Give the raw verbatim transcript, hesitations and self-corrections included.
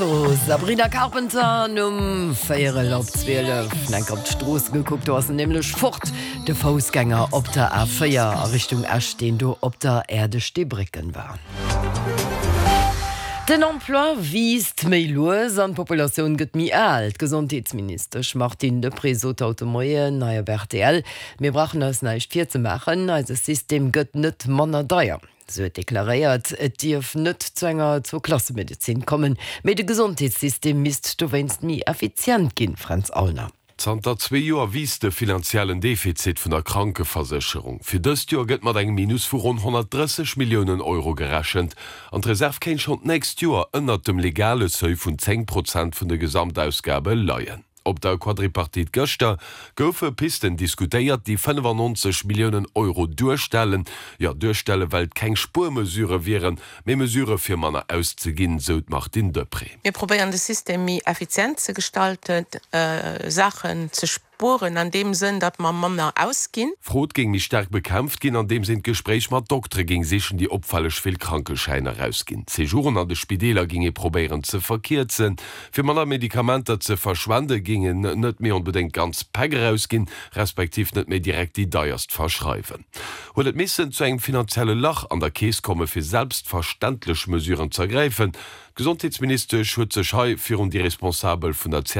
Sabrina Carpenter um véierel op zwielef. Enk op d'Strooss gekuckt, do ass en nämlech fort, de Foussgänger op der A véier a Richtung Esch, deen do op der Äerdesteebrécken war. Den Emploi wiisst méi lues an d'Populatioun gëtt méi al. D'Gesondheetsministesch Martine Deprez sot haut de Moien hei op R T L: Mir brauchen eis näischt virzemaachen, eise System gëtt net manner deier. Si huet deklaréiert, et dierf net zu enger Zwouklassemedezin kommen, mee de Gesondheetssystem misst dowéinst méi effizient ginn. Fränz Aulner. Zanter zwee Joer wiisst de finanziellen Defizit vun der Krankeversécherung. Fir dëst Joer gëtt mat engem Minus vu ronn honnertdrësseg Milliounen Euro gerechent. An d'Reserv kéint schonn d'nächst Joer ënnert dem legale Seuil vun zéng Prozent vun de Gesamtausgabe leien. Op der Quadripartite gëschter goufe Pisten diskutéiert, déi fënnefannonzeg Milliounen Euro duerstellen. Jo, duerstellen, well et keng Spuermesurë wieren, mee Mesurë fir manner auszeginn, sou d'Martine Deprez. Mir probéieren de System méi effizient ze gestalten, Saachen ze spueren an deem Sënn, datt mer manner ausginn. Frod géing méi staark bekämpft ginn, andeems een d'Gespréich mat Doktere géing sichen, déi opfälleg vill Krankeschäiner erausginn. D'Sejouren an de Spideeler géing ee probéieren ze verkierzen. Fir manner Medikamenter ze verschwende géing een net méi onbedéngt ganz Päck erausginn, respektiv net méi direkt déi deierst verschreiwen. Huet et missen zu engem finanzielle Lach an der Keess komme fir selbstverständlech Mesuren z'ergräifen? D'Gesondheetsministesch huet sech hei virun déi Responsabel vun der.